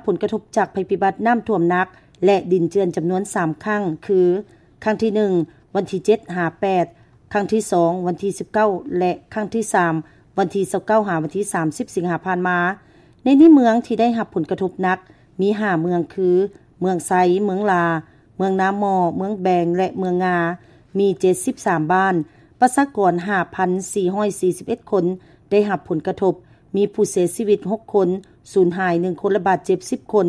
ຜົນກະທົບຈາກໄພພິບັດນ້ຳຖ້ວມໜັກ ແລະ ດິນເຈື່ອນຈຳນວນສາມຄັ້ງ ຄື ຄັ້ງທີໜຶ່ງ ວັນທີເຈັດຫາແປດ, ຄັ້ງທີສອງ ວັນທີສິບເກົ້າ ແລະ ຄັ້ງທີສາມ ວັນທີຊາວເກົ້າ ຫາວັນທີສາມສິບ ສິງຫາຜ່ານມາ. ໃນນີ້ເມືອງທີ່ໄດ້ຮັບຜົນກະທົບໜັກມີຫ້າເມືອງ ຄື ເມືອງໄຊ, ເມືອງຫຼາ, ເມືອງນາໝໍ້, ເມືອງແບງ ແລະ ເມືອງງາ ມີເຈັດສິບສາມບ້ານ, ປະຊາກອນຫ້າພັນສີ່ຮ້ອຍສີ່ສິບເອັດຄົນໄດ້ຮັບຜົນກະທົບ, ມີຜູ້ເສຍຊີວິດຫົກຄົນ, ສູນຫາຍໜຶ່ງຄົນ ແລະ ບາດເຈັບສິບຄົນ,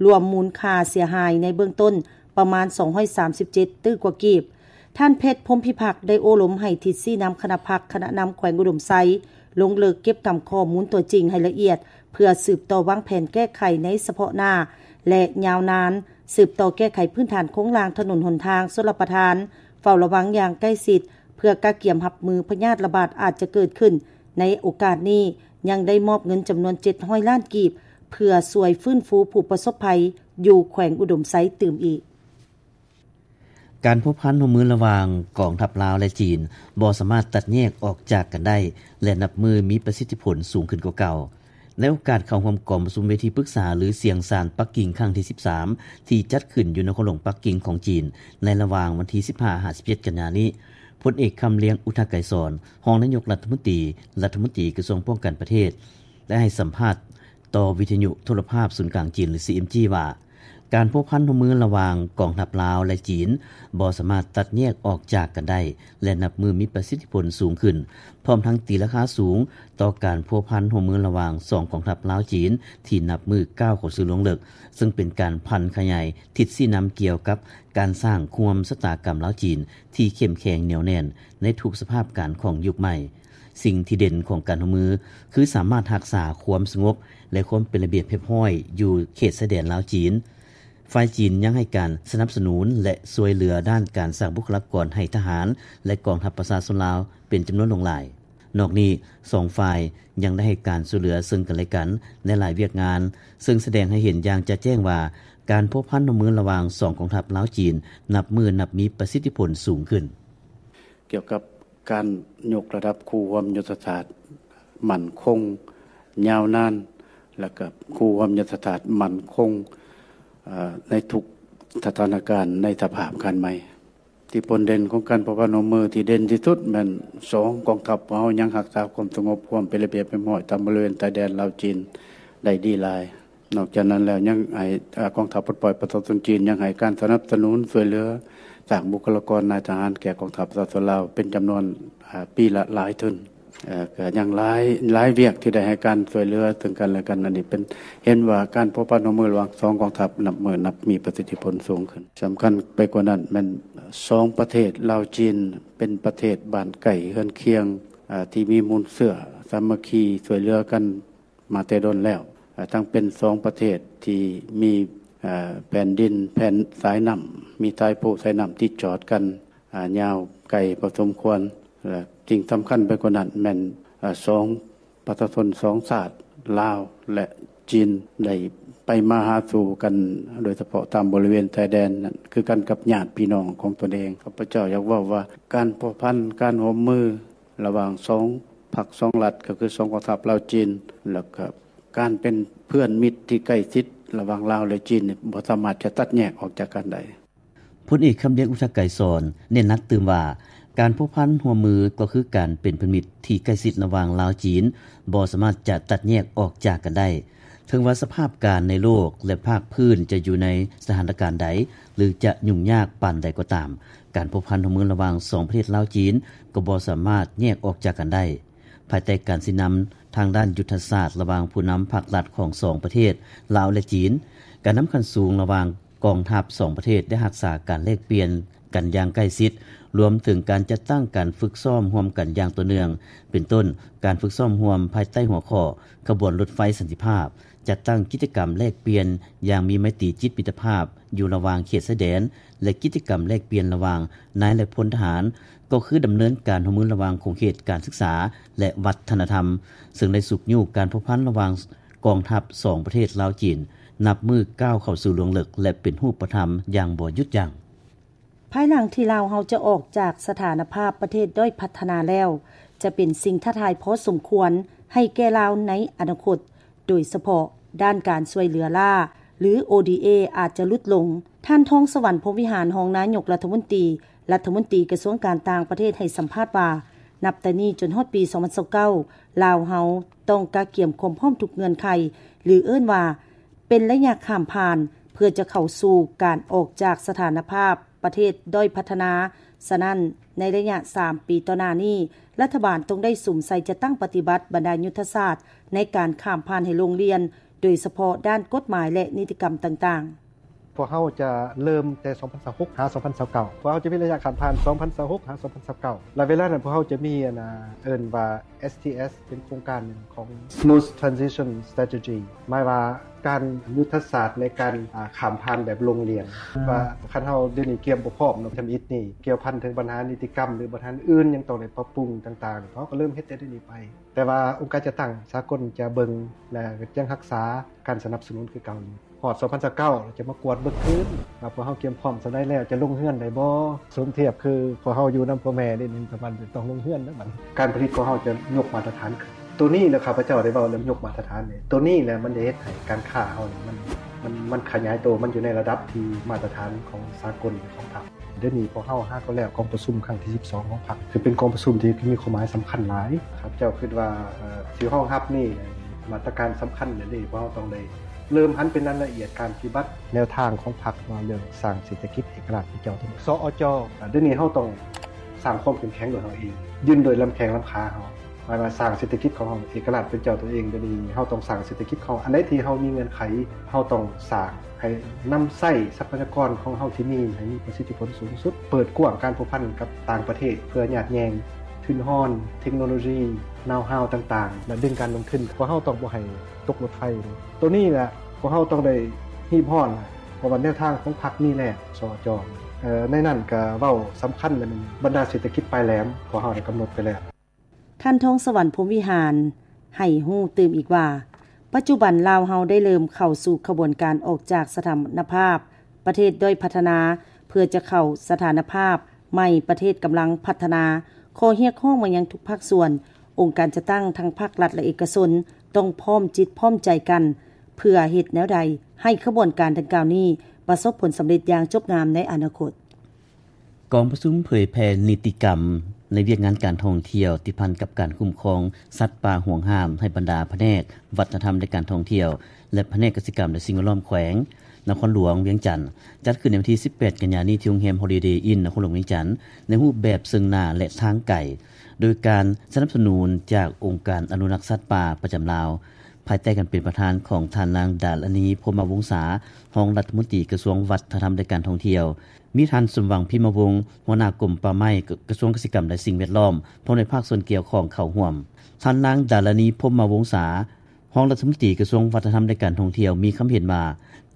ລວມມູນຄ່າເສຍຫາຍໃນເບື້ອງຕົ້ນປະມານສອງຮ້ອຍສາມສິບເຈັດຕື້ກວ່າກີບ. ທ່ານ ເພັດ ພົມພິພັກ ໄດ້ໂອ້ລົມໃຫ້ທິດຊີ້ນຳຄະນະພັກ, ຄະນະນຳແຂວງອຸດົມໄຊ ລົງເລິກເກັບກຳຂໍ້ມູນຕົວຈິງໃຫ້ລະອຽດ ເພື່ອສືບຕໍ່ວາງແຜນແກ້ໄຂໃນສະເພາະໜ້າ ແລະ ຍາວນານ, ສືບຕໍ່ແກ້ໄຂພື້ນຖານໂຄງລ່າງຖະໜົນຫົນທາງຊົນລະປະທານ, ເຝົ້າລະວັງຢ່າງໃກ້ຊິດ ເພື່ອກະກຽມຮັບມືພະຍາດລະບາດອາດຈະເກີດຂຶ້ນ. ໃນໂອກາດນີ້ ຍັງໄດ້ມອບເງິນຈຳນວນເຈັດຮ້ອຍລ້ານກີບ ເພື່ອຊ່ວຍຟື້ນຟູຜູ້ປະສົບໄພຢູ່ແຂວງອຸດົມໄຊຕື່ມອີກ. ການພົວພັນຮ່ວມມືລະຫວ່າງກອງທັບລາວ ແລະ ຈີນ ບໍ່ສາມາດຕັດແຍກອອກຈາກກັນໄດ້ ແລະ ນັບມື້ມີປະສິດທິຜົນສູງຂຶ້ນກວ່າເກົ່າ. ໃນໂອກາດເຂົ້າຮ່ວມກອງປະຊຸມເວທີປຶກສາ ຫຼື ສຽງຊານປັກກິ່ງຄັ້ງທີສິບສາມ ທີ່ຈັດຂຶ້ນຢູ່ນະຄອນຫຼວງປັກກິ່ງຂອງຈີນ ໃນລະຫວ່າງວັນທີສິບຫ້າ ຫາ ສິບເຈັດ ກັນຍານີ້, ພົນເອກ ຄຳລຽງ ອຸທະໄກສອນ ຮອງນາຍົກລັດຖະມົນຕີ, ລັດຖະມົນຕີກະຊວງປ້ອງກັນປະເທດ ໄດ້ໃຫ້ສຳພາດຕໍ່ວິທະຍຸໂທລະພາບສູນກາງຈີນ ຫຼື ຊີເອັມຈີ ວ່າ ການພົວພັນຮ່ວມມືລະຫວ່າງກອງທັບລາວ ແລະ ຈີນ ບໍ່ສາມາດຕັດແຍກອອກຈາກກັນໄດ້ ແລະ ນັບມື້ມີປະສິດທິຜົນສູງຂຶ້ນ, ພ້ອມທັງຕີລາຄາສູງຕໍ່ການພົວພັນຮ່ວມມືລະຫວ່າງສອງກອງທັບລາວ-ຈີນ ທີ່ນັບມື້ກ້າວເຂົ້າສູ່ລວງເລິກ, ເຊິ່ງເປັນການຜັນຂະຫຍາຍທິດຊີ້ນຳກ່ຽວກັບການສ້າງຄູ່ຮ່ວມຊະຕາກຳລາວ-ຈີນ ທີ່ເຂັ້ມແຂງໜຽວແໜ້ນໃນທຸກສະພາບການຂອງຍຸກໃໝ່. ສິ່ງທີ່ເດັ່ນຂອງການຮ່ວມມື ຄືສາມາດຮັກສາຄວາມສະຫງົບ ແລະ ຄວາມເປັນລະບຽບຮຽບຮ້ອຍຢູ່ເຂດຊາຍແດນລາວ-ຈີນ. ຝ່າຍຈີນຍັງໃຫ້ການສະໜັບສະໜູນ ແລະ ຊ່ວຍເຫຼືອດ້ານການສ້າງບຸກຄະລາກອນໃຫ້ທະຫານ ແລະ ກອງທັບປະຊາຊົນລາວເປັນຈຳນວນຫຼວງຫຼາຍ. ນອກນີ້, ສອງຝ່າຍຍັງໄດ້ໃຫ້ການຊ່ວຍເຫຼືອເຊິ່ງກັນແລະກັນໃນຫຼາຍວຽກງານ, ເຊິ່ງສະແດງໃຫ້ເຫັນຢ່າງຈະແຈ້ງວ່າ ການພົວພັນຮ່ວມມືລະຫວ່າງສອງກອງທັບລາວ-ຈີນ ນັບມື້ນັບມີປະສິດທິຜົນສູງຂຶ້ນ. ກ່ຽວກັບການຍົກລະດັບຄູ່ຮ່ວມຍຸດທະສາດໝັ້ນຄົງຍາວນານ ແລະ ກະຄູ່ຮ່ວມຍຸດທະສາດໝັ້ນຄົງ ເອີ ໃນທຸກສະຖານະການໃນສະພາບການໃໝ່. ທີ່ຜົນເດັ່ນຂອງການພົວພັນຮ່ວມມືທີ່ເດັ່ນທີ່ສຸດແມ່ນສອງກອງທັບຂອງເຮົາຍັງຮັກສາຄວາມສະຫງົບ ຄວາມເປັນລະບຽບຮຽບຮ້ອຍຕາມບໍລິເວນຊາຍແດນລາວ-ຈີນໄດ້ດີຫຼາຍ. ນອກຈາກນັ້ນແລ້ວ ຍັງໃຫ້ ເອີ ກອງທັບປົດປ່ອຍປະຊາຊົນຈີນ ຍັງໃຫ້ການສະໜັບສະໜູນຊ່ວຍເຫຼືອສ້າງບຸກຄະລາກອນນາຍທະຫານແກ່ກອງທັບປະຊາຊົນລາວເປັນຈຳນວນ ເອີ ປີລະຫຼາຍທຶນ. ເອີ ກະຍັງຫຼາຍ ຫຼາຍວຽກທີ່ໄດ້ໃຫ້ການຊ່ວຍເຫຼືອເຊິ່ງກັນແລະກັນ. ອັນນີ້ເປັນ ເຫັນວ່າການພົວພັນຮ່ວມມືລະຫວ່າງສອງກອງທັບນັບມື້ນັບມີປະສິດທິຜົນສູງຂຶ້ນ. ສຳຄັນໄປກວ່ານັ້ນແມ່ນສອງປະເທດລາວ-ຈີນ ເປັນປະເທດບ້ານໃກ້ເຮືອນຄຽງ ເອີ ທີ່ມີມູນເຊື້ອສາມັກຄີຊ່ວຍເຫຼືອກັນ ມາແຕ່ດົນແລ້ວ, ເອີ ທັງເປັນສອງປະເທດທີ່ມີ ເອີ ແຜ່ນດິນ ແຜ່ນສາຍນ້ຳ ມີສາຍພູສາຍນ້ຳຕິດຈອດກັນ ເອີ ຍາວໄກພໍສົມຄວນ ແລະ ສິ່ງສຳຄັນໄປກວ່ານັ້ນແມ່ນ ເອີ ສອງປະຊາຊົນສອງຊາດ ລາວ ແລະ ຈີນ ໄດ້ໄປມາຫາສູ່ກັນ ໂດຍສະເພາະຕາມບໍລິເວນຊາຍແດນນັ້ນ ຄືກັນກັບຍາດພີ່ນ້ອງຂອງຕົນເອງ. ຂ້າພະເຈົ້າຢາກເວົ້າວ່າ ການພົວພັນ ການຮ່ວມມື ລະຫວ່າງສອງພັກສອງລັດ ກໍຄືສອງກອງທັບລາວ-ຈີນ ແລ້ວກໍການເປັນເພື່ອນມິດທີ່ໃກ້ຊິດລະຫວ່າງລາວ ແລະ ຈີນນີ້ ບໍ່ສາມາດຈະຕັດແຍກອອກຈາກກັນໄດ້. ພົນເອກ ຄຳລຽງ ອຸທະໄກສອນ ເນັ້ນໜັກຕື່ມວ່າ ການພົວພັນຮ່ວມມືກໍຄືການເປັນເພື່ອນມິດທີ່ໃກ້ຊິດລະຫວ່າງລາວ-ຈີນ ບໍ່ສາມາດຈະຕັດແຍກອອກຈາກກັນໄດ້. ເຖິງວ່າສະພາບການໃນໂລກ ແລະ ພາກພື້ນຈະຢູ່ໃນສະຖານະການໃດ ຫຼື ຈະຫຍຸ້ງຍາກປານໃດກໍຕາມ, ການພົວພັນຮ່ວມມືລະຫວ່າງສອງປະເທດລາວ-ຈີນ ກໍບໍ່ສາມາດແຍກອອກຈາກກັນໄດ້. ພາຍໃຕ້ການຊີ້ນຳທາງດ້ານຍຸດທະສາດລະຫວ່າງຜູ້ນຳພັກລັດຂອງສອງປະເທດ ລາວ ແລະ ຈີນ, ການນຳຂັ້ນສູງລະຫວ່າງກອງທັບສອງປະເທດໄດ້ຮັກສາການແລກປ່ຽນ ກັນຢ່າງໃກ້ຊິດ, ລວມເຖິງການຈັດຕັ້ງການຝຶກຊ້ອມຮ່ວມກັນຢ່າງຕໍ່ເນື່ອງ, ເປັນຕົ້ນ ການຝຶກຊ້ອມຮ່ວມພາຍໃຕ້ຫົວຂໍ້ຂະບວນລົດໄຟສັນຕິພາບ, ຈັດຕັ້ງກິດຈະກຳແລກປ່ຽນຢ່າງມີໄມຕີຈິດມິດຕະພາບຢູ່ລະຫວ່າງເຂດຊາຍແດນ ແລະ ກິດຈະກຳແລກປ່ຽນລະຫວ່າງນາຍ ແລະ ພົນທະຫານ, ກໍຄືດຳເນີນການຮ່ວມມືລະຫວ່າງຂົງເຂດການສຶກສາ ແລະ ວັດທະນະທຳ, ເຊິ່ງໄດ້ຊຸກຍູ້ການພົວພັນລະຫວ່າງກອງທັບສອງປະເທດລາວ-ຈີນ ນັບມື້ກ້າວເຂົ້າສູ່ລວງເລິກ ແລະ ເປັນຮູບປະທຳຢ່າງບໍ່ຢຸດຢັ້ງ. ພາຍຫຼັງທີ່ລາວເຮົາຈະອອກຈາກສະຖານະພາບປະເທດດ້ອຍພັດທະນາແລ້ວ, ຈະເປັນສິ່ງທ້າທາຍພໍສົມຄວນໃຫ້ແກ່ລາວໃນອະນາຄົດ, ໂດຍສະເພາະ ດ້ານການຊ່ວຍເຫຼືອລ້າ ຫຼື ໂອດີເອ ອາດຈະຫຼຸດລົງ. ທ່ານ ທອງສະຫວັນ ພົມວິຫານ ຮອງນາຍົກລັດຖະມົນຕີ, ລັດຖະມົນຕີກະຊວງການຕ່າງປະເທດ ໃຫ້ສຳພາດວ່າ ນັບແຕ່ນີ້ຈົນຮອດປີສອງພັນຊາວເກົ້າ ລາວເຮົາຕ້ອງກະກຽມຄວາມພ້ອມທຸກເງື່ອນໄຂ ຫຼື ເອີ້ນວ່າ ເປັນໄລຍະຂ້າມຜ່ານ ເພື່ອຈະເຂົ້າສູ່ການອອກຈາກສະຖານະພາບປະເທດດ້ອຍພັດທະນາ. ສະນັ້ນ, ໃນໄລຍະສາມປີຕໍ່ໜ້ານີ້, ລັດຖະບານຕ້ອງໄດ້ສຸມໃສ່ຈັດຕັ້ງປະຕິບັດບັນດາຍຸດທະສາດໃນການຂ້າມຜ່ານໃຫ້ລົງລຽນ, ໂດຍສະເພາະດ້ານກົດໝາຍ ແລະ ນິຕິກຳຕ່າງໆ. ພວກເຮົາຈະເລີ່ມແຕ່ສອງພັນຊາວຫົກຫາສອງພັນຊາວເກົ້າ ພວກເຮົາຈະມີໄລຍະຂ້າມຜ່ານສອງພັນຊາວຫົກຫາສອງພັນຊາວເກົ້າ ແລະ ເວລານັ້ນພວກເຮົາຈະມີ ອັນ ອ່າ ເອີ້ນວ່າ ເອສທີເອສ ເປັນໂຄງການໜຶ່ງຂອງ Smooth Transition Strategy ໝາຍວ່າການ ຍຸດທະສາດໃນການ ອ່າ ຂ້າມຜ່ານແບບລົງລຽນ ວ່າຄັນເຮົາດຽວນີ້ກຽມບໍ່ພ້ອມເນາະ ທຳອິດນີ້ກ່ຽວພັນເຖິງບັນຫານິຕິກຳ ຫຼື ບັນຫາອື່ນຍັງຕ້ອງໄດ້ປັບປຸງຕ່າງໆ ເຮົາກໍເລີ່ມເຮັດແຕ່ດຽວນີ້ໄປ. ແຕ່ວ່າອົງການຈັດຕັ້ງສາກົນຈະເບິ່ງ ແລະ ຍັງຮັກສາການສະໜັບສະໜູນຄືເກົ່າຢູ່. ຮອດສອງພັນຊາວເກົ້າ ຈະມາກວດເບິ່ງຄືນວ່າພວກເຮົາກຽມພ້ອມສ່ຳໃດແລ້ວ ຈະລົງເຮືອນໄດ້ບໍ່? ສົມທຽບຄືພວກເຮົາຢູ່ນຳພໍ່ແມ່ນີ້ ມັນຕ້ອງລົງເຮືອນແລ້ວບັດນີ້ ການຜະລິດຂອງເຮົາຈະຍົກມາດຕະຖານຂຶ້ນ. ໂຕນີ້ແຫຼະ ຂ້າພະເຈົ້າໄດ້ເວົ້າເລື່ອງຍົກມາດຕະຖານນີ້ ໂຕນີ້ແຫຼະມັນໄດ້ເຮັດໃຫ້ການຄ້າເຮົານີ້ ມັນ ມັນ ມັນຂະຫຍາຍໂຕ ມັນຢູ່ໃນລະດັບທີ່ມາດຕະຖານຂອງສາກົນ ຂອງພັກ. ດຽວນີ້ພວກເຮົາຫາກໍແລ້ວກອງປະຊຸມຄັ້ງທີສິບສອງຂອງພັກ ຄືເປັນກອງປະຊຸມທີ່ມີຄວາມໝາຍສຳຄັນຫຼາຍ. ຂ້າພະເຈົ້າຄິດວ່າ ເອີ ຊິຮອງຮັບນີ້ ມາດຕະການສຳຄັນເດ ພວກເຮົາຕ້ອງໄດ້ເລີ່ມຫັນເປັນລາຍລະອຽດການປະຕິບັດແນວທາງຂອງພັກ ເວົ້າເລື່ອງສ້າງເສດຖະກິດເອກະລາດໃຫ້ເຈົ້າ ສອອຈ. ດຽວນີ້ເຮົາຕ້ອງສ້າງຄວາມເຂັ້ມແຂງໂດຍເຮົາເອງ ຢືນໂດຍລຳແຂ້ງລຳຂາເຮົາ ໝາຍວ່າສ້າງເສດຖະກິດຂອງເຮົາເອກະລາດເປັນເຈົ້າຕົວເອງ. ດຽວນີ້ເຮົາຕ້ອງສ້າງເສດຖະກິດຂອງເຮົາ ອັນໃດທີ່ເຮົາມີເງື່ອນໄຂ ເຮົາຕ້ອງສ້າງ ໃຫ້ນຳໃຊ້ຊັບພະຍາກອນຂອງເຮົາທີ່ມີໃຫ້ມີປະສິດທິຜົນສູງສຸດ, ເປີດກວ້າງການພົວພັນກັບຕ່າງປະເທດ ເພື່ອຍາດແຍ່ງທຶນຮອນ, ເທັກໂນໂລຊີ, ນາວຮາວຕ່າງໆ ແລະ ດຶງການລົງທຶນ. ພວກເຮົາຕ້ອງບໍ່ໃຫ້ຕົກລົດໄຟ. ໂຕນີ້ແຫຼະ ພວກເຮົາຕ້ອງໄດ້ຮີບຮ້ອນ ເພາະວ່າແນວທາງຂອງພັກມີແລ້ວ ສອຈ. ໃນນັ້ນກະເວົ້າສຳຄັນແລ້ວ ແມ່ນບັນດາເສດຖະກິດປາຍແຫຼມ ພວກເຮົາໄດ້ກຳນົດໄປແລ້ວ. ທ່ານ ທອງສະຫວັນ ພົມວິຫານ ໃຫ້ຮູ້ຕື່ມອີກວ່າ ປັດຈຸບັນລາວເຮົາໄດ້ເລີ່ມເຂົ້າສູ່ຂະບວນການອອກຈາກສະຖານະພາບປະເທດດ້ອຍພັດທະນາ ເພື່ອຈະເຂົ້າສະຖານະພາບໃໝ່ປະເທດກຳລັງພັດທະນາ. ຂໍຮຽກຮ້ອງມາຍັງທຸກພາກສ່ວນ, ອົງການຈັດຕັ້ງທັງພາກລັດ ແລະ ເອກະຊົນ ຕ້ອງພ້ອມຈິດພ້ອມໃຈກັນ ເພື່ອເຮັດແນວໃດໃຫ້ຂະບວນການດັ່ງກ່າວນີ້ປະສົບຜົນສຳເລັດຢ່າງຈົບງາມໃນອະນາຄົດ. ກອງປະຊຸມເຜີຍແຜ່ນິຕິກຳໃນວຽກງານການທ່ອງທ່ຽວ ຕິດພັນກັບການຄຸ້ມຄອງສັດປ່າຫວງຫ້າມ ໃຫ້ບັນດາພະແນກວັດທະນະທຳ ແລະ ການທ່ອງທ່ຽວ ແລະ ພະແນກກະສິກຳ ແລະ ສິ່ງແວດລ້ອມ ແຂວງນະຄອນຫຼວງວຽງຈັນ ຈັດຂຶ້ນໃນວັນທີສິບແປດ ກັນຍານີ້ ທີ່ໂຮງແຮມ Holiday Inn ນະຄອນຫຼວງວຽງຈັນ ໃນຮູບແບບເຊິ່ງໜ້າ ແລະ ທາງໄກ ໂດຍການສະໜັບສະໜູນຈາກອົງການອະນຸລັກສັດປ່າປະຈຳລາວ ພາຍໃຕ້ການເປັນປະທານຂອງທ່ານນາງ ດາລານີ ພົມມະວົງສາ ຮອງລັດຖະມົນຕີກະຊວງວັດທະນະທຳ ແລະ ການທ່ອງທ່ຽວ, ມີທ່ານ ສົມຫວັງ ພິມມະວົງ ຫົວໜ້າກົມປ່າໄມ້ ກະຊວງກະສິກຳ ແລະ ສິ່ງແວດລ້ອມ ພ້ອມດ້ວຍພາກສ່ວນກ່ຽວຂ້ອງເຂົ້າຮ່ວມ. ທ່ານນາງ ດາລານີ ພົມມະວົງສາ ຮອງລັດຖະມົນຕີກະຊວງວັດທະນະທຳ ແລະ ການທ່ອງທ່ຽວ ມີຄຳເຫັນວ່າ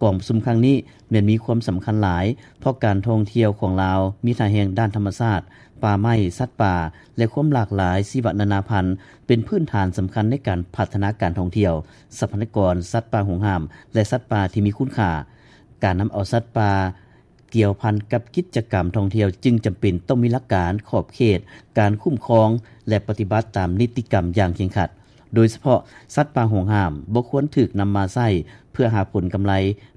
ກອງປະຊຸມຄັ້ງນີ້ແມ່ນມີຄວາມສຳຄັນຫຼາຍ ເພາະການທ່ອງທ່ຽວຂອງລາວມີທ່າແຮງດ້ານທຳມະຊາດ, ປ່າໄມ້, ສັດປ່າ ແລະ ຄວາມຫຼາກຫຼາຍຊີວະນານາພັນ ເປັນພື້ນຖານສຳຄັນໃນການພັດທະນາການທ່ອງທ່ຽວ, ຊັບພະຍາກອນສັດປ່າຫວງຫ້າມ ແລະ ສັດປ່າທີ່ມີຄຸນຄ່າ. ການນຳເອົາສັດປ່າກ່ຽວພັນກັບກິດຈະກຳທ່ອງທ່ຽວ ຈຶ່ງຈຳເປັນຕ້ອງມີຫຼັກການ, ຂອບເຂດ, ການຄຸ້ມຄອງ ແລະ ປະຕິບັດຕາມນິຕິກຳຢ່າງເຄັ່ງຄັດ. ໂດຍສະເພາະສັດປ່າຫວງຫ້າມບໍ່ຄວນຖືກນຳມາໃຊ້ເພື່ອຫາຜົນກຳໄລ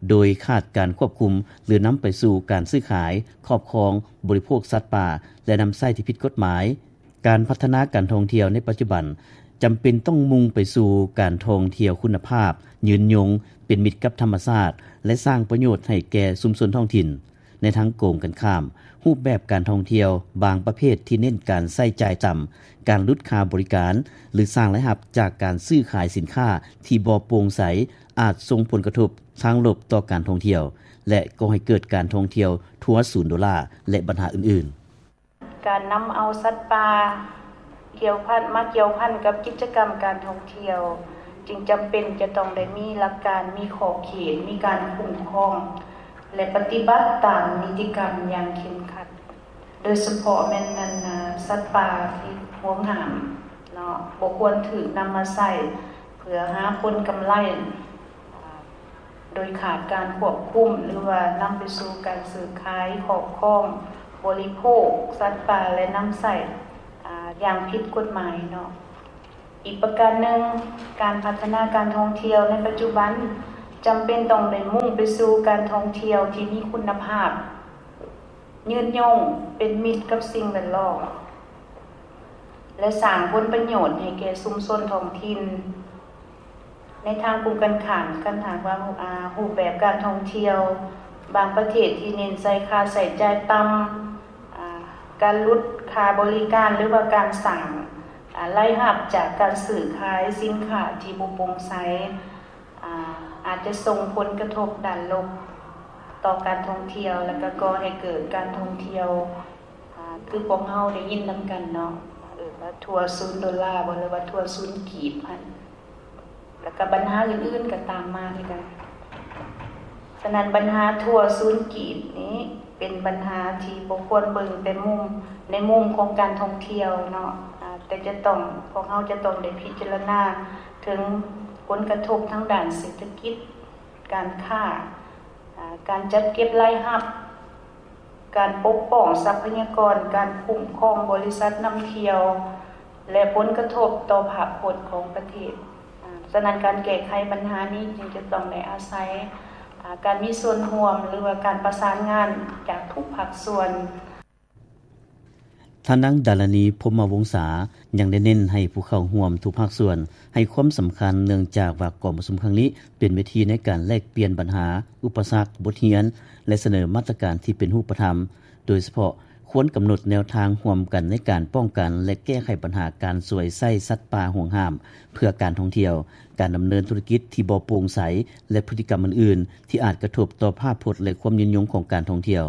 ໂດຍຂາດການຄວບຄຸມ ຫຼື ນຳໄປສູ່ການຊື້ຂາຍ, ຄອບຄອງ, ບໍລິໂພກສັດປ່າ ແລະ ນຳໃຊ້ທີ່ຜິດກົດໝາຍ. ການພັດທະນາການທ່ອງທ່ຽວໃນປັດຈຸບັນ ຈຳເປັນຕ້ອງມຸ່ງໄປສູ່ການທ່ອງທ່ຽວຄຸນນະພາບ, ຍືນຍົງ, ເປັນມິດກັບທຳມະຊາດ ແລະ ສ້າງປະໂຫຍດໃຫ້ແກ່ຊຸມຊົນທ້ອງຖິ່ນ. ໃນທາງກົງກັນຂ້າມ, ຮູບແບບການທ່ອງທ່ຽວບາງປະເພດທີ່ເນັ້ນການໃຊ້ຈ່າຍຕ່ຳ, ການຫຼຸດຄ່າບໍລິການ ຫຼື ສ້າງລາຍຮັບຈາກການຊື້ຂາຍສິນຄ້າທີ່ບໍ່ໂປ່ງໃສ ອາດສົ່ງຜົນກະທົບທາງລົບຕໍ່ການທ່ອງທ່ຽວ ແລະ ກໍ່ໃຫ້ເກີດການທ່ອງທ່ຽວທົວສູນໂດລາ ແລະ ບັນຫາອື່ນໆ. ການນຳເອົາສັດປ່າກ່ຽວພັນ ມາກ່ຽວພັນກັບກິດຈະກຳການທ່ອງທ່ຽວ ຈຶ່ງຈຳເປັນຈະຕ້ອງໄດ້ມີຫຼັກການ, ມີຂອບເຂດ, ມີການຄຸ້ມຄອງ ແລະ ປະຕິບັດຕາມນິຕິກຳຢ່າງເຄັ່ງຄັດ, ໂດຍສະເພາະແມ່ນ ອັນ ສັດປ່າທີ່ຫວງຫ້າມເນາະ ບໍ່ຄວນຖືກນຳມາໃຊ້ເພື່ອຫາຜົນກຳໄລ ໂດຍຂາດການຄວບຄຸມ ຫຼືວ່ານຳໄປສູ່ການຊື້ຂາຍ, ຄອບຄອງ, ບໍລິໂພກສັດປ່າ ແລະ ນຳໃຊ້ ອາ ຢ່າງຜິດກົດໝາຍເນາະ. ອີກປະການໜຶ່ງ, ການພັດທະນາການທ່ອງທ່ຽວໃນປັດຈຸບັນ ຈຳເປັນຕ້ອງໄດ້ມຸ່ງໄປສູ່ການທ່ອງທ່ຽວທີ່ມີຄຸນນະພາບ, ຍືນຍົງ, ເປັນມິດກັບສິ່ງແວດລ້ອມ ແລະ ສ້າງຜົນປະໂຫຍດໃຫ້ແກ່ຊຸມຊົນທ້ອງຖິ່ນ. ໃນທາງກົງກັນຂ້າມ, ຄັນຫາກວ່າ ອາ ຮູບແບບການທ່ອງທ່ຽວບາງປະເທດທີ່ເນັ້ນໃສ່ຄ່າໃຊ້ຈ່າຍຕ່ຳ, ອາ ການຫຼຸດຄ່າບໍລິການ ຫຼືວ່າການສ້າງ ອາ ລາຍຮັບຈາກການຊື້ຂາຍສິນຄ້າທີ່ບໍ່ໂປ່ງໃສ ອາ ອາດຈະສົ່ງຜົນກະທົບດ້ານລົບຕໍ່ການທ່ອງທ່ຽວ ແລະ ກໍກໍ່ໃຫ້ເກີດການທ່ອງທ່ຽວ ອາ ຄືພວກເຮົາໄດ້ຍິນນຳກັນເນາະ ເອີ້ນວ່າທົວສູນໂດລາບໍ ຫຼືວ່າທົວສູນກີບຫັ້ນ ແລ້ວກໍບັນຫາອື່ນໆກໍຕາມມາຄືກັນ. ສະນັ້ນບັນຫາທົວສູນກີບນີ້ເປັນບັນຫາທີ່ບໍ່ຄວນເບິ່ງແຕ່ມຸມ ໃນມຸມຂອງການທ່ອງທ່ຽວເນາະ ອາ ແຕ່ຈະຕ້ອງ ພວກເຮົາຈະຕ້ອງໄດ້ພິຈາລະນາເຖິງຜົນກະທົບທາງດ້ານເສດຖະກິດ, ການຄ້າ, ອາ ການຈັດເກັບລາຍຮັບ, ການປົກປ້ອງຊັບພະຍາກອນ, ການຄຸ້ມຄອງບໍລິສັດນຳທ່ຽວ ແລະ ຜົນກະທົບຕໍ່ພາບພົດຂອງປະເທດ. ອາ ສະນັ້ນການແກ້ໄຂບັນຫານີ້ຈຶ່ງຈະຕ້ອງໄດ້ອາໄສ ອາ ການມີສ່ວນຮ່ວມ ຫຼືວ່າການປະສານງານຈາກທຸກພາກສ່ວນ. ທ່ານນາງ ດາລານີ ພົມມະວົງສາ ຍັງໄດ້ເນັ້ນໃຫ້ຜູ້ເຂົ້າຮ່ວມທຸກພາກສ່ວນໃຫ້ຄວາມສຳຄັນ ເນື່ອງຈາກວ່າກອງປະຊຸມຄັ້ງນີ້ເປັນເວທີໃນການແລກປ່ຽນບັນຫາ, ອຸປະສັກ, ບົດຮຽນ ແລະ ສະເໜີມາດຕະການທີ່ເປັນຮູບປະທຳ. ໂດຍສະເພາະຄວນກຳນົດແນວທາງຮ່ວມກັນໃນການປ້ອງກັນ ແລະ ແກ້ໄຂບັນຫາການສວຍໃຊ້ສັດປ່າຫວງຫ້າມເພື່ອການທ່ອງທ່ຽວ, ການດຳເນີນທຸລະກິດທີ່ບໍ່ໂປ່ງໃສ ແລະ ພຶດຕິກຳອື່ນໆ ທີ່ອາດກະທົບຕໍ່ພາບພົດ ແລະ ຄວາມຍືນຍົງຂອງການທ່ອງທ່ຽວ.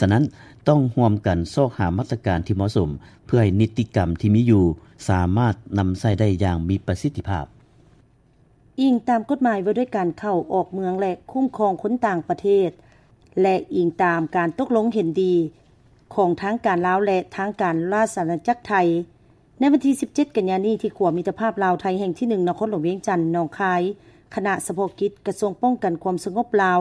ສະນັ້ນ, ຕ້ອງຮ່ວມກັນຊອກຫາມາດຕະການທີ່ເໝາະສົມ ເພື່ອໃຫ້ນິຕິກຳທີ່ມີຢູ່ສາມາດນຳໃຊ້ໄດ້ຢ່າງມີປະສິດທິພາບ. ອີງຕາມກົດໝາຍວ່າດ້ວຍການເຂົ້າອອກເມືອງ ແລະ ຄຸ້ມຄອງຄົນຕ່າງປະເທດ ແລະ ອີງຕາມການຕົກລົງເຫັນດີຂອງທາງການລາວ ແລະ ທາງການລາຊະອານາຈັກໄທ, ໃນວັນທີສິບເຈັດ ກັນຍານີ້ ທີ່ຂົວມິດຕະພາບລາວ-ໄທແຫ່ງທີໜຶ່ງ ນະຄອນຫຼວງວຽງຈັນ ໜອງຄາຍ, ຄະນະສະເພາະກິດກະຊວງປ້ອງກັນຄວາມສະຫງົບລາວ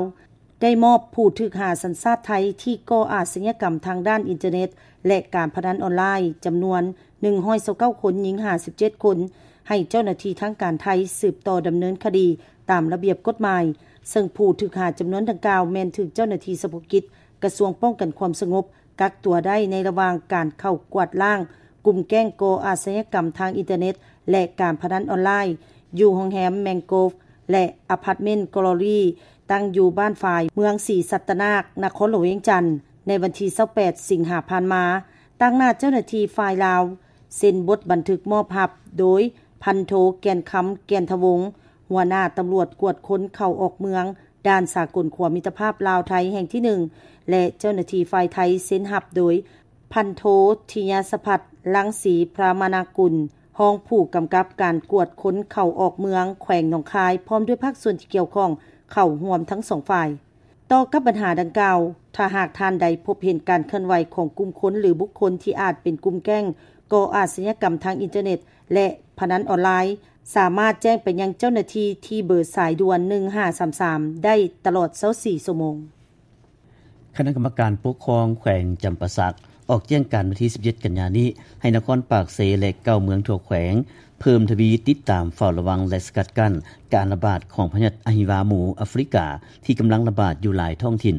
ໄດ້ມອບຜູ້ຖືກຫາສັນຊາດໄທທີ່ກໍ່ອາຊະຍາກຳທາງດ້ານອິນເຕີເນັດ ແລະ ການພະນັນອອນລາຍ ຈຳນວນໜຶ່ງຮ້ອຍຊາວເກົ້າຄົນ, ຍິງຫ້າສິບເຈັດຄົນ ໃຫ້ເຈົ້າໜ້າທີ່ທາງການໄທສືບຕໍ່ດຳເນີນຄະດີຕາມລະບຽບກົດໝາຍ, ເຊິ່ງຜູ້ຖືກຫາຈຳນວນດັ່ງກ່າວແມ່ນຖືກເຈົ້າໜ້າທີ່ສະເພາະກິດກະຊວງປ້ອງກັນຄວາມສະຫງົບ ກັກຕົວໄດ້ໃນລະຫວ່າງການເຂົ້າກວາດລ້າງກຸ່ມແກ້ງກໍ່ອາຊະຍາກຳທາງອິນເຕີເນັດ ແລະ ການພະນັນອອນລາຍ ຢູ່ໂຮງແຮມແມງໂກຟ ແລະ ອາພາດເມັນກລໍຣີ ຕັ້ງຢູ່ບ້ານຝາຍ ເມືອງສີສັດຕະນາກ ນະຄອນຫຼວງວຽງຈັນ ໃນວັນທີຊາວແປດ ສິງຫາ ຜ່ານມາ. ຕາງໜ້າເຈົ້າໜ້າທີ່ຝ່າຍລາວ ເຊັນບົດບັນທຶກມອບຮັບໂດຍ ພັນໂທ ແກ່ນຄຳ ແກ່ນທະວົງ ຫົວໜ້າຕຳຫຼວດກວດຄົນເຂົ້າອອກເມືອງ ດ່ານສາກົນຂົວມິດຕະພາບລາວ-ໄທແຫ່ງທີໜຶ່ງ ແລະ ເຈົ້າໜ້າທີ່ຝ່າຍໄທເຊັນຮັບໂດຍ ພັນໂທ ທິຍາສະພັດ ລັງສີ ພຣາມະນາກຸນ ຮອງຜູ້ກຳກັບການກວດຄົນເຂົ້າອອກເມືອງແຂວງໜອງຄາຍ ພ້ອມດ້ວຍພາກສ່ວນທີ່ກ່ຽວຂ້ອງເຂົ້າຮ່ວມທັງສອງຝ່າຍ. ຕໍ່ກັບບັນຫາດັ່ງກ່າວ, ຖ້າຫາກທ່ານໃດພົບເຫັນການເຄື່ອນໄຫວຂອງກຸ່ມຄົນ ຫຼື ບຸກຄົນທີ່ອາດເປັນກຸ່ມແກ້ງກໍ່ອາຊະຍາກຳທາງອິນເຕີເນັດ ແລະ ພະນັນອອນລາຍ, ສາມາດແຈ້ງໄປຍັງເຈົ້າໜ້າທີ່ທີ່ເບີສາຍດ່ວນໜຶ່ງຫ້າສາມສາມໄດ້ຕະຫຼອດຊາວສີ່ຊົ່ວໂມງ. ຄະນະກຳມະການປົກຄອງແຂວງຈຳປາສັກ ອອກແຈ້ງການວັນທີສິບເຈັດ ກັນຍານີ້ ໃຫ້ນະຄອນປາກເຊ ແລະ ເກົ້າເມືອງທົ່ວແຂວງ ເພີ່ມທະວີຕິດຕາມ, ເຝົ້າລະວັງ ແລະ ສະກັດກັ້ນການລະບາດຂອງພະຍາດອະຫິວາໝູອາຟຣິກາ ທີ່ກຳລັງລະບາດຢູ່ຫຼາຍທ້ອງຖິ່ນ.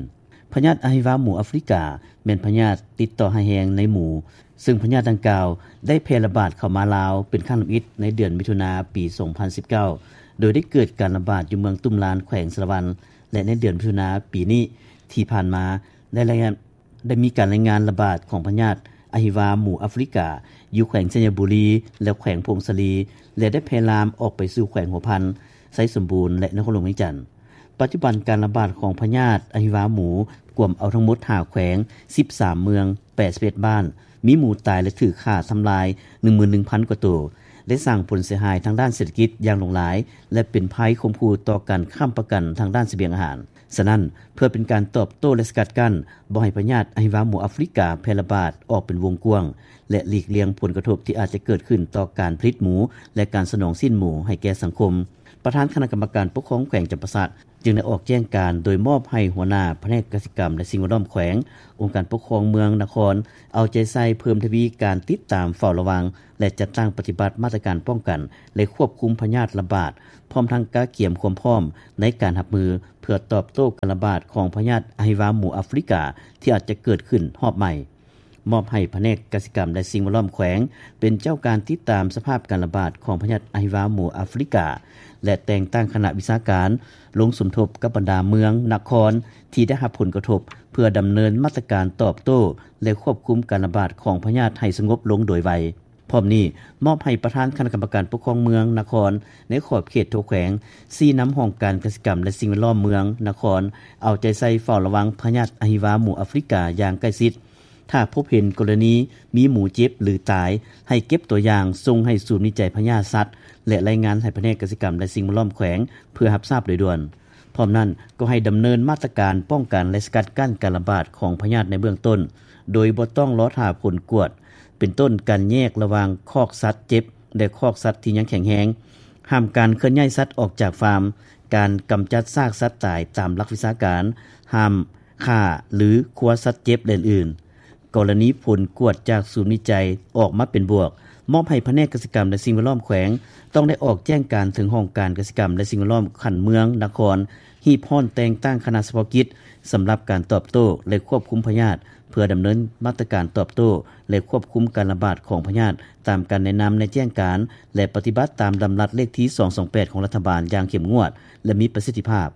ພະຍາດອະຫິວາໝູອາຟຣິກາ ແມ່ນພະຍາດຕິດຕໍ່ຮ້າຍແຮງໃນໝູ, ເຊິ່ງພະຍາດດັ່ງກ່າວໄດ້ແຜ່ລະບາດເຂົ້າມາລາວເປັນຄັ້ງທຳອິດໃນເດືອນມິຖຸນາປີສອງພັນສິບເກົ້າ ໂດຍໄດ້ເກີດການລະບາດຢູ່ເມືອງຕຸ້ມລານ ແຂວງສາລະວັນ ແລະ ໃນເດືອນມິຖຸນາປີນີ້ທີ່ຜ່ານມາ ໄດ້ລາຍງານ ໄດ້ມີການລາຍງານລະບາດຂອງພະຍາດອະຫິວາໝູອາຟຣິກາ ຢູ່ແຂວງໄຊຍະບູລີ ແລະ ແຂວງຜົ້ງສາລີ ແລະ ໄດ້ແຜ່ລາມອອກໄປສູ່ແຂວງຫົວພັນ, ໄຊສົມບູນ ແລະ ນະຄອນຫຼວງວຽງຈັນ. ປັດຈຸບັນການລະບາດຂອງພະຍາດອະຫິວາໝູກວມເອົາທັງໝົດຫ້າແຂວງ, ສິບສາມເມືອງ, ແປດສິບເອັດບ້ານ, ມີໝູຕາຍ ແລະ ຖືກຂ້າທຳລາຍ ໜຶ່ງໝື່ນໜຶ່ງພັນກວ່າໂຕ, ໄດ້ສ້າງຜົນເສຍຫາຍທາງດ້ານເສດຖະກິດຢ່າງຫຼວງຫຼາຍ ແລະ ເປັນໄພຂົ່ມຂູ່ຕໍ່ການຄ້ຳປະກັນທາງດ້ານສະບຽງອາຫານ. ສະນັ້ນ, ເພື່ອເປັນການຕອບໂຕ້ ແລະ ສະກັດກັ້ນບໍ່ໃຫ້ພະຍາດອະຫິວາໝູອາຟຣິກາແຜ່ລະບາດອອກເປັນວົງກວ້າງ ແລະ ຫຼີກລ່ຽງຜົນກະທົບທີ່ອາດຈະເກີດຂຶ້ນຕໍ່ການຜະລິດໝູ ແລະ ການສະໜອງຊີ້ນໝູໃຫ້ແກ່ສັງຄົມ, ປະທານຄະນະກຳມະການປົກຄອງແຂວງຈຳປາສັກ ຈຶ່ງໄດ້ອອກແຈ້ງການໂດຍມອບໃຫ້ຫົວໜ້າພະແນກກະສິກຳ ແລະ ສິ່ງແວດລ້ອມແຂວງ, ອົງການປົກຄອງເມືອງ, ນະຄອນ ເອົາໃຈໃສ່ເພີ່ມທະວີການຕິດຕາມເຝົ້າລະວັງ ແລະ ຈັດຕັ້ງປະຕິບັດມາດຕະການປ້ອງກັນ ແລະ ຄວບຄຸມພະຍາດລະບາດ, ພ້ອມທັງກະກຽມຄວາມພ້ອມໃນການຮັບມື ເພື່ອຕອບໂຕ້ການລະບາດຂອງພະຍາດອະຫິວາໝູອາຟຣິກາ ທີ່ອາດຈະເກີດຂຶ້ນຮອບໃໝ່. ມອບໃຫ້ພະແນກກະສິກຳ ແລະ ສິ່ງແວດລ້ອມແຂວງ ເປັນເຈົ້າການຕິດຕາມສະພາບການລະບາດຂອງພະຍາດອະຫິວາໝູອາຟຣິກາ ແລະ ແຕ່ງຕັ້ງຄະນະວິຊາການລົງສົມທົບກັບບັນດາເມືອງ, ນະຄອນ ທີ່ໄດ້ຮັບຜົນກະທົບ ເພື່ອດຳເນີນມາດຕະການຕອບໂຕ້ ແລະ ຄວບຄຸມການລະບາດຂອງພະຍາດໃຫ້ສະຫງົບລົງໂດຍໄວ. ພ້ອມນີ້, ມອບໃຫ້ປະທານຄະນະກຳມະການປົກຄອງເມືອງ, ນະຄອນ ໃນຂອບເຂດທົ່ວແຂວງ ຊີ້ນຳຫ້ອງການກະສິກຳ ແລະ ສິ່ງແວດລ້ອມເມືອງ, ນະຄອນ ເອົາໃຈໃສ່ເຝົ້າລະວັງພະຍາດອະຫິວາໝູອາຟຣິກາຢ່າງໃກ້ຊິດ. ຖ້າພົບເຫັນກໍລະນີມີໝູເຈັບ ຫຼື ຕາຍ, ໃຫ້ເກັບຕົວຢ່າງສົ່ງໃຫ້ສູນວິໄຈພະຍາດສັດ ແລະ ລາຍງານໃຫ້ພະແນກກະສິກຳ ແລະ ສິ່ງແວດລ້ອມແຂວງ ເພື່ອຮັບຊາບໂດຍດ່ວນ. ພ້ອມນັ້ນກໍໃຫ້ດຳເນີນມາດຕະການປ້ອງກັນ ແລະ ສະກັດກັ້ນການລະບາດຂອງພະຍາດໃນເບື້ອງຕົ້ນ ໂດຍບໍ່ຕ້ອງລໍຖ້າຜົນກວດ ເປັນຕົ້ນການແຍກລະຫວ່າງຄອກສັດເຈັບ ແລະ ຄອກສັດທີ່ຍັງແຂງແຮງ, ຫ້າມການເຄື່ອນຍ້າຍສັດອອກຈາກຟາມ, ການກຳຈັດຊາກສັດຕາຍຕາມຫຼັກວິຊາການ, ຫ້າມຂ້າ ຫຼື ຄົວສັດເຈັບ ແລະ ອື່ນໆ. ກໍລະນີຜົນກວດຈາກສູນວິໄຈອອກມາເປັນບວກ, ມອບໃຫ້ພະແນກກະສິກຳ ແລະ ສິ່ງແວດລ້ອມແຂວງ ຕ້ອງໄດ້ອອກແຈ້ງການເຖິງຫ້ອງການກະສິກຳ ແລະ ສິ່ງແວດລ້ອມຂັ້ນເມືອງ, ນະຄອນ ຮີບຮ້ອນແຕ່ງຕັ້ງຄະນະສະເພາະກິດ ສຳລັບການຕອບໂຕ້ ແລະ ຄວບຄຸມພະຍາດ ເພື່ອດຳເນີນມາດຕະການຕອບໂຕ້ ແລະ ຄວບຄຸມການລະບາດຂອງພະຍາດ ຕາມການແນະນຳໃນແຈ້ງການ ແລະ ປະຕິບັດຕາມດຳລັດເລກທີສອງສອງແປດຂອງລັດຖະບານຢ່າງເຂັ້ມງວດ ແລະ ມີປະສິດທິພາບ.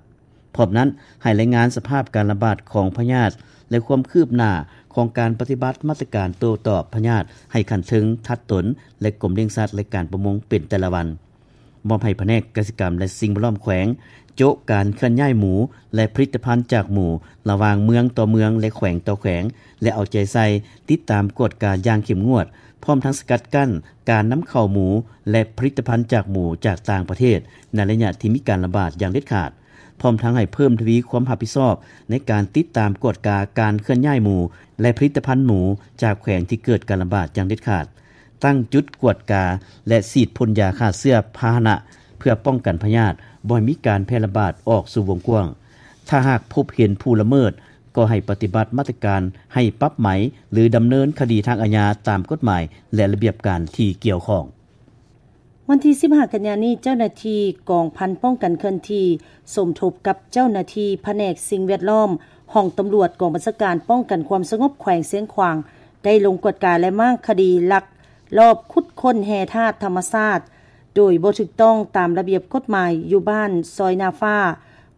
ພ້ອມນັ້ນ, ໃຫ້ລາຍງານສະພາບການລະບາດຂອງພະຍາດ ແລະ ຄວາມຄືບໜ້າຂອງການປະຕິບັດມາດຕະການໂຕ້ຕອບພະຍາດໃຫ້ຂັ້ນເທິງ, ທັດຕົນ ແລະ ກົມລ້ຽງສັດ ແລະ ການປະມົງເປັນແຕ່ລະວັນ. ມອບໃຫ້ພະແນກກະສິກຳ ແລະ ສິ່ງແວດລ້ອມແຂວງ ໂຈະການເຄື່ອນຍ້າຍໝູ ແລະ ຜະລິດຕະພັນຈາກໝູ ລະຫວ່າງເມືອງຕໍ່ເມືອງ ແລະ ແຂວງຕໍ່ແຂວງ ແລະ ເອົາໃຈໃສ່ຕິດຕາມກວດກາຢ່າງເຂັ້ມງວດ, ພ້ອມທັງສະກັດກັ້ນການນຳເຂົ້າໝູ ແລະ ຜະລິດຕະພັນຈາກໝູຈາກຕ່າງປະເທດ ໃນໄລຍະທີ່ມີການລະບາດຢ່າງເດັດຂາດ. ພ້ອມທັງໃຫ້ເພີ່ມທະວີຄວາມຮັບຜິດຊອບໃນການຕິດຕາມກວດກາການເຄື່ອນຍ້າຍໝູ ແລະ ຜະລິດຕະພັນໝູຈາກແຂວງທີ່ເກີດການລະບາດຢ່າງເດັດຂາດ, ຕັ້ງຈຸດກວດກາ ແລະ ສີດພົ່ນຢາຂ້າເຊື້ອພາຫະນະ ເພື່ອປ້ອງກັນພະຍາດບໍ່ໃຫ້ມີການແຜ່ລະບາດອອກສູ່ວົງກວ້າງ. ຖ້າຫາກພົບເຫັນຜູ້ລະເມີດ ກໍໃຫ້ປະຕິບັດມາດຕະການໃຫ້ປັບໃໝ ຫຼື ດຳເນີນຄະດີທາງອາຍາຕາມກົດໝາຍ ແລະ ລະບຽບການທີ່ກ່ຽວຂ້ອງ. ວັນທີສິບຫ້າ ກັນຍານີ້, ເຈົ້າໜ້າທີ່ກອງພັນປ້ອງກັນເຄື່ອນທີ່ ສົມທົບກັບເຈົ້າໜ້າທີ່ພະແນກສິ່ງແວດລ້ອມ ຫ້ອງຕຳຫຼວດກອງບັນຊາການປ້ອງກັນຄວາມສະຫງົບແຂວງຊຽງຂວາງ ໄດ້ລົງກວດກາ ແລະ ມ້າງຄະດີລັກລອບຂຸດຄົ້ນແຮ່ທາດທຳມະຊາດ ໂດຍບໍ່ຖືກຕ້ອງຕາມລະບຽບກົດໝາຍ ຢູ່ບ້ານຊອຍນາຟ້າ,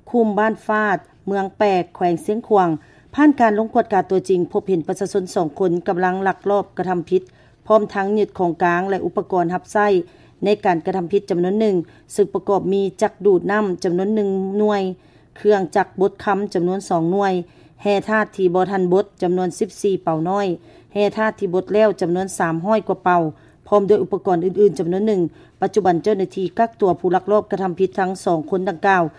ຄຸ້ມບ້ານຟາດ, ເມືອງແປກ, ແຂວງຊຽງຂວາງ. ຜ່ານການລົງກວດກາຕົວຈິງ, ພົບເຫັນປະຊາຊົນສອງຄົນກຳລັງລັກລອບກະທຳຜິດ ພ້ອມທັງຍຶດຂອງກາງ ແລະ ອຸປະກອນຮັບໃຊ້ໃນການກະທຳຜິດຈຳນວນໜຶ່ງ, ເຊິ່ງປະກອບມີຈັກດູດນ້ຳຈຳນວນໜຶ່ງໜ່ວຍ, ເຄື່ອງຈັກບົດຄຳຈຳນວນສອງໜ່ວຍ, ແຮ່ທາດທີ່ບໍ່ທັນບົດຈຳນວນສິບສີ່ເປົານ້ອຍ, ແຮ່ທາດທີ່ບົດແລ້ວຈຳນວນສາມຮ້ອຍກວ່າເປົາ, ພ້ອມດ້ວຍອຸປະກອນອື່ນໆຈຳນວນໜຶ່ງ. ປັດຈຸບັນເຈົ້າໜ້າທີ່ກັກຕົວຜູ້ລັກລອບກະທຳຜິດທັງສອງຄົນດັ່ງກ່າວ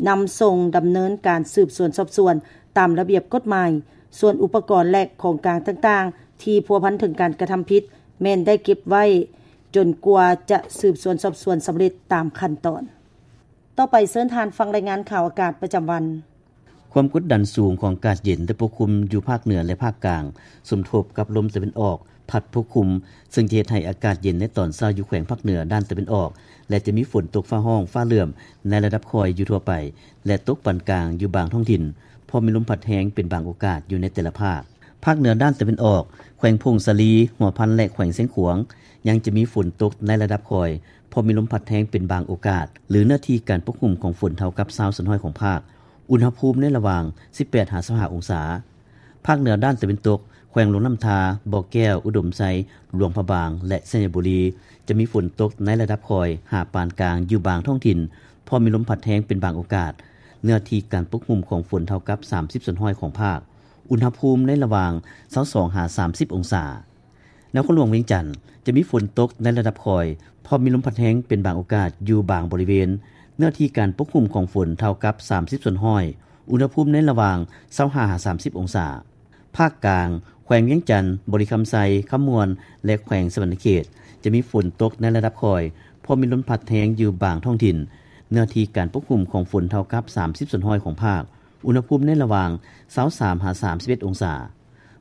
ນຳສົ່ງດຳເນີນການສືບສວນສອບສວນຕາມລະບຽບກົດໝາຍ. ສ່ວນອຸປະກອນ ແລະ ຂອງກາງຕ່າງໆ ທີ່ພົວພັນເຖິງການກະທຳຜິດ ແມ່ນໄດ້ເກັບໄວ້ຈົນກວ່າຈະສືບສວນສອບສວນສຳເລັດຕາມຂັ້ນຕອນ. ຕໍ່ໄປເຊີນທ່ານຟັງລາຍງານຂ່າວອາກາດປະຈຳວັນ. ຄວາມກົດດັນສູງຂອງອາກາດເຢັນໄດ້ປົກຄຸມຢູ່ພາກເໜືອ ແລະ ພາກກາງ ສົມທົບກັບລົມຕາເວັນອອກພັດປົກຄຸມ, ເຊິ່ງຈະເຮັດໃຫ້ອາກາດເຢັນໃນຕອນເຊົ້າຢູ່ແຂວງພາກເໜືອດ້ານຕາເວັນອອກ ແລະ ຈະມີຝົນຕົກຟ້າຮ້ອງຟ້າເຫຼື້ອມໃນລະດັບຄ່ອຍຢູ່ທົ່ວໄປ ແລະ ຕົກປານກາງຢູ່ບາງທ້ອງຖິ່ນ, ພ້ອມມີລົມພັດແຮງເປັນບາງໂອກາດຢູ່ໃນແຕ່ລະພາກ. ພາກເໜືອດ້ານຕາເວັນອອກ, ແຂວງຜົ້ງສາລີ, ຫົວພັນ ແລະ ແຂວງຊຽງຂວາງ ຍັງຈະມີຝົນຕົກໃນລະດັບຄ່ອຍ, ພ້ອມມີລົມພັດແຮງເປັນບາງໂອກາດ, ຫຼື ເນື້ອທີ່ການປົກຄຸມຂອງຝົນເທົ່າກັບຊາວສ່ວນຮ້ອຍຂອງພາກ. ອຸນຫະພູມໃນລະຫວ່າງສິບແປດຫາຊາວຫ້າອົງສາ. ພາກເໜືອດ້ານຕາເວັນຕົກ, ແຂວງຫຼວງນ້ຳທາ, ບໍ່ແກ້ວ, ອຸດົມໄຊ, ຫຼວງພະບາງ ແລະ ໄຊຍະບູລີ ຈະມີຝົນຕົກໃນລະດັບຄ່ອຍຫາປານກາງຢູ່ບາງທ້ອງຖິ່ນ, ພ້ອມມີລົມພັດແຮງເປັນບາງໂອກາດ, ເນື້ອທີ່ການປົກຄຸມຂອງຝົນເທົ່າກັບສາມສິບສ່ວນຮ້ອຍຂອງພາກ. ອຸນຫະພູມໃນລະຫວ່າງຊາວສອງຫາສາມສິບອົງສາ. ນະຄອນຫຼວງວຽງຈັນ ຈະມີຝົນຕົກໃນລະດັບຄ່ອຍ, ພ້ອມມີລົມພັດແຮງເປັນບາງໂອກາດຢູ່ບາງບໍລິເວນ, ເນື້ອທີ່ການປົກຄຸມຂອງຝົນເທົ່າກັບສາມສິບສ່ວນຮ້ອຍ, ອຸນຫະພູມໃນລະຫວ່າງຊາວຫ້າຫາສາມສິບອົງສາ. ພາກກາງ, ແຂວງວຽງຈັນ, ບໍລິຄຳໄຊ, ຄຳມ່ວນ ແລະ ແຂວງສະຫວັນນະເຂດ ຈະມີຝົນຕົກໃນລະດັບຄ່ອຍ, ພ້ອມມີລົມພັດແຮງຢູ່ບາງທ້ອງຖິ່ນ, ເນື້ອທີ່ການປົກຄຸມຂອງຝົນເທົ່າກັບສາມສິບສ່ວນຮ້ອຍຂອງພາກ, ອຸນຫະພູມໃນລະຫວ່າງຊາວສາມຫາສາມສິບເອັດອົງສາ.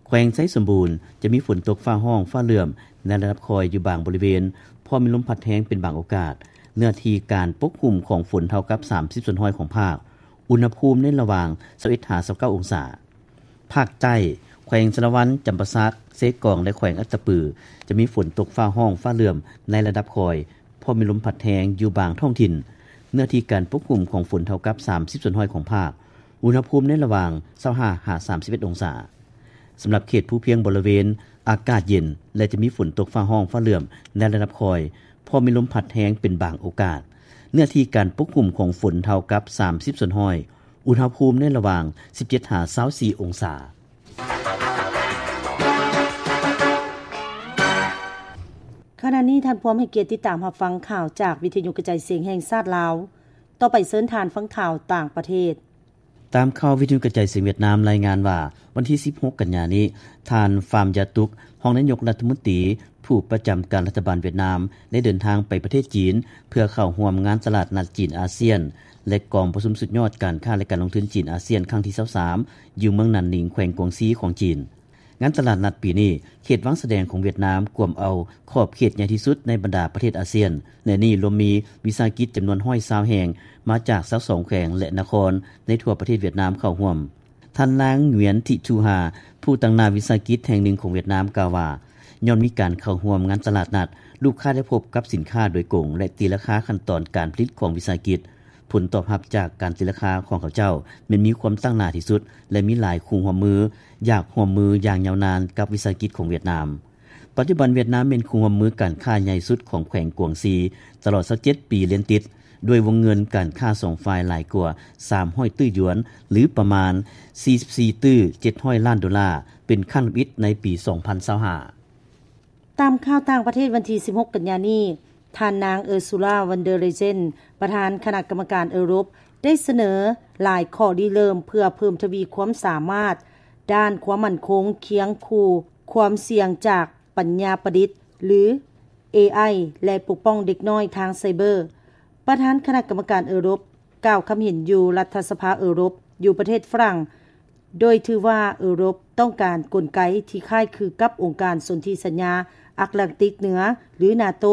ແຂວງໄຊສົມບູນຈະມີຝົນຕົກຟ້າຮ້ອງຟ້າເຫຼື້ອມໃນລະດັບຄ່ອຍຢູ່ບາງບໍລິເວນ, ພ້ອມມີລົມພັດແຮງເປັນບາງໂອກາດ. ເນື້ອທີ່ການປົກຄຸມຂອງຝົນເທົ່າກັບສາມສິບສ່ວນຮ້ອຍຂອງພາກ, ອຸນຫະພູມໃນລະຫວ່າງຊາວເອັດຫາຊາວເກົ້າອົງສາ. ພາກໃຕ້, ແຂວງສາລະວັນ, ຈຳປາສັກ, ເຊກອງ ແລະ ແຂວງອັດຕະປື ຈະມີຝົນຕົກຟ້າຮ້ອງຟ້າເຫຼື້ອມໃນລະດັບຄ່ອຍ, ພ້ອມມີລົມພັດແຮງຢູ່ບາງທ້ອງຖິ່ນ. ເນື້ອທີ່ການປົກຄຸມຂອງຝົນເທົ່າກັບສາມສິບສ່ວນຮ້ອຍຂອງພາກ, ອຸນຫະພູມໃນລະຫວ່າງຊາວຫ້າຫາສາມສິບເອັດອົງສາ. ສຳລັບເຂດພູພຽງບໍລິເວນ ອາກາດເຢັນ ແລະ ຈະມີຝົນຕົກຟ້າຮ້ອງຟ້າເຫຼື້ອມໃນລະດັບຄ່ອຍ, ພ້ອມມີລົມພັດແຮງເປັນບາງໂອກາດ. ເນື້ອທີ່ການປົກຄຸມຂອງຝົນເທົ່າກັບສາມສິບສ່ວນຮ້ອຍ, ອຸນຫະພູມໃນລະຫວ່າງສິບເຈັດຫາຊາວສີ່ອົງສາ. ຂະນະນີ້ທ່ານພວມໃຫ້ກຽດຕິດຕາມຮັບຟັງຂ່າວຈາກວິທະຍຸກະຈາຍສຽງແຫ່ງຊາດລາວ. ຕໍ່ໄປເຊີນທ່ານຟັງຂ່າວຕ່າງປະເທດ. ຕາມຂ່າວວິທະຍຸກະຈາຍສຽງຫວຽດນາມລາຍງານວ່າ ວັນທີສິບຫົກກັນຍານີ້, ທ່ານ ຟາມ ຢາຕຸກ ຮອງນາຍົກລັດຖະມົນຕີ ຜູ້ປະຈຳການລັດຖະບານຫວຽດນາມ ໄດ້ເດີນທາງໄປປະເທດຈີນ ເພື່ອເຂົ້າຮ່ວມງານຕະຫຼາດນັດຈີນອາຊຽນ ແລະ ກອງປະຊຸມສຸດຍອດການຄ້າ ແລະ ການລົງທຶນຈີນອາຊຽນຄັ້ງທີຊາວສາມ ຢູ່ເມືອງໜານໜິງ ແຂວງກວາງຊີຂອງຈີນ. ງານຕະຫຼາດນັດປີນີ້ ເຂດວາງສະແດງຂອງຫວຽດນາມກວມເອົາຂອບເຂດໃຫຍ່ທີ່ສຸດໃນບັນດາປະເທດອາຊຽນ ແລະ ນີ້ລວມມີວິສາຫະກິດຈຳນວນຮ້ອຍຊາວແຫ່ງ ມາຈາກຊາວສອງແຂວງ ແລະ ນະຄອນໃນທົ່ວປະເທດຫວຽດນາມເຂົ້າຮ່ວມ. ທ່ານນາງ ຫງວຽນ ທິທູຮາ ຜູ້ຕາງໜ້າວິສາຫະກິດແຫ່ງໜຶ່ງຂອງຫວຽດນາມ ກ່າວວ່າ ຍ້ອນມີການເຂົ້າຮ່ວມງານຕະຫຼາດນັດ, ລູກຄ້າໄດ້ພົບກັບສິນຄ້າໂດຍກົງ ແລະ ຕີລາຄາຂັ້ນຕອນການຜະລິດຂອງວິສາຫະກິດ. ຜົນຕອບຮັບຈາກການຕີລາຄາຂອງເຂົາເຈົ້າແມ່ນມີຄວາມຕັ້ງໜ້າທີ່ສຸດ ແລະ ມີຫຼາຍຄູ່ຮ່ວມມື ຢາກຮ່ວມມືຢ່າງຍາວນານກັບວິສາຫະກິດຂອງຫວຽດນາມ. ປັດຈຸບັນຫວຽດນາມແມ່ນຄູ່ຮ່ວມມືການຄ້າໃຫຍ່ສຸດຂອງແຂວງກວາງຊີ ຕະຫຼອດຊາວເຈັດປີລຽນຕິດ, ດ້ວຍວົງເງິນການຄ້າສອງຝ່າຍຫຼາຍກວ່າສາມຮ້ອຍຕື້ຢວນ ຫຼື ປະມານສີ່ສິບສີ່ຕື້ເຈັດຮ້ອຍລ້ານໂດລາ ເປັນຄັ້ງທຳອິດໃນປີສອງພັນຊາວຫ້າ. ຕາມຂ່າວຕ່າງປະເທດ ວັນທີສິບຫົກກັນຍານີ້, ທ່ານນາງ ເອີຊູລາ ວັນເດີເຣເຈນ ປະທານຄະນະກຳມະການເອີຣົບ ໄດ້ສະເໜີຫຼາຍຂໍ້ລິເລີ່ມເພື່ອເພີ່ມທະວີຄວາມສາມາດດ້ານຄວາມໝັ້ນຄົງ ຄຽງຄູ່ຄວາມສ່ຽງຈາກປັນຍາປະດິດ ຫຼື ເອໄອ ແລະ ປົກປ້ອງເດັກນ້ອຍທາງໄຊເບີ. ປະທານຄະນະກຳມະການເອີຣົບ ກ່າວຄຳເຫັນຢູ່ລັດຖະສະພາເອີຣົບ ຢູ່ປະເທດຝຣັ່ງ ໂດຍຖືວ່າເອີຣົບຕ້ອງການກົນໄກທີ່ຄ້າຍຄືກັບອົງການສົນທິສັນຍາອັດລານຕິກເໜືອ ຫຼື ນາໂຕ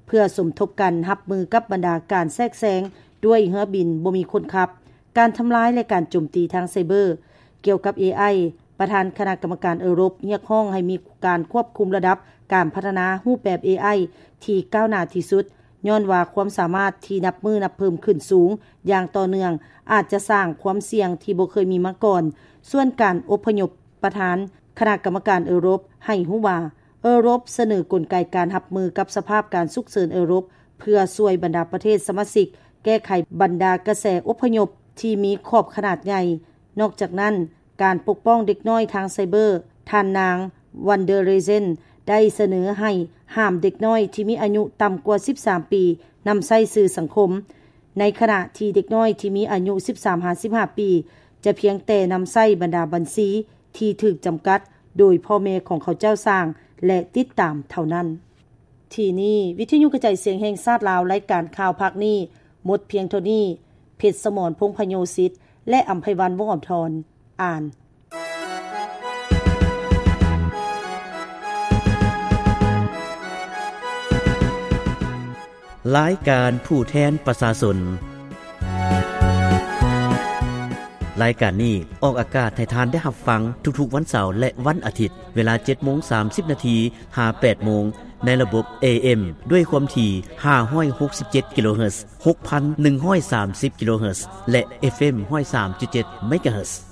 ເພື່ອສົມທົບກັນຮັບມືກັບບັນດາການແຊກແຊງດ້ວຍເຮືອບິນບໍ່ມີຄົນຂັບ, ການທຳລາຍ ແລະ ການໂຈມຕີທາງໄຊເບີ. ກ່ຽວກັບເອໄອ, ປະທານຄະນະກຳມະການເອີຣົບຮຽກຮ້ອງໃຫ້ມີການຄວບຄຸມລະດັບການພັດທະນາຮູບແບບເອໄອທີ່ກ້າວໜ້າທີ່ສຸດ, ຍ້ອນວ່າຄວາມສາມາດທີ່ນັບມື້ນັບເພີ່ມຂຶ້ນສູງຢ່າງຕໍ່ເນື່ອງ ອາດຈະສ້າງຄວາມສ່ຽງທີ່ບໍ່ເຄີຍມີມາກ່ອນ. ສ່ວນການອົບພະຍົບ, ປະທານຄະນະກຳມະການເອີຣົບໃຫ້ຮູ້ວ່າ ເອີຣົບສະເໜີກົນໄກການຮັບມືກັບສະພາບການສຸກເສີນເອີຣົບ ເພື່ອຊ່ວຍບັນດາປະເທດສະມາຊິກແກ້ໄຂບັນດາກະແສອົບພະຍົບທີ່ມີຂອບຂະໜາດໃຫຍ່. ນອກຈາກນັ້ນ, ການປົກປ້ອງເດັກນ້ອຍທາງໄຊເບີ, ທ່ານນາງ ວັນເດີເຣເຈນ ໄດ້ສະເໜີໃຫ້ຫ້າມເດັກນ້ອຍທີ່ມີອາຍຸຕ່ຳກວ່າສິບສາມປີນຳໃຊ້ສື່ສັງຄົມ, ໃນຂະນະທີ່ເດັກນ້ອຍທີ່ມີອາຍຸສິບສາມຫາສິບຫ້າປີ ຈະພຽງແຕ່ນຳໃຊ້ບັນດາບັນຊີທີ່ຖືກຈຳກັດໂດຍພໍ່ແມ່ຂອງເຂົາເຈົ້າສ້າງ ແລະ ຕິດຕາມເທົ່ານັ້ນ. ທີ່ນີ້ ວິທະຍຸກະຈາຍສຽງແຫ່ງຊາດລາວ, ລາຍການຂ່າວພາກນີ້ໝົດພຽງເທົ່ານີ້. ເພັດສະໝອນ ພົງພະໂຍສິດ ແລະ ອຳໄພວັນ ວົງອຳທອນ ອ່ານ. ລາຍການຜູ້ແທນປະຊາຊົນ. ລາຍການນີ້ອອກອາກາດໃຫ້ທ່ານໄດ້ຮັບຟັງທຸກໆວັນເສົາ ແລະ ວັນອາທິດ, ເວລາເຈັດໂມງສາມສິບນາທີ ຫາ ແປດໂມງ ໃນລະບົບ ເອເອັມ ດ້ວຍຄວາມຖີ່ ຫ້າຮ້ອຍຫົກສິບເຈັດ ກິໂລເຮີດ, ຫົກພັນໜຶ່ງຮ້ອຍສາມສິບ ກິໂລເຮີດ ແລະ ເອັຟເອັມ ຮ້ອຍສາມຈຸດເຈັດ ເມກາເຮີດ.